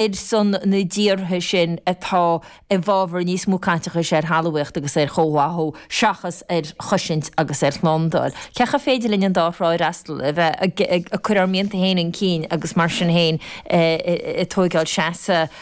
Ar son na dtíortha sin atá i bhfabhar níos mó caiteachais ar thalmhaíocht agus ar chomhtháthú seachas ar chosaint agus ar shlándáil. Cén chaoi ar féidir linn an dá thrá a fhreastal, a bheith ag cur ár mianta féin chun cinn agus mar sin féin ag tóigeáil seasamh?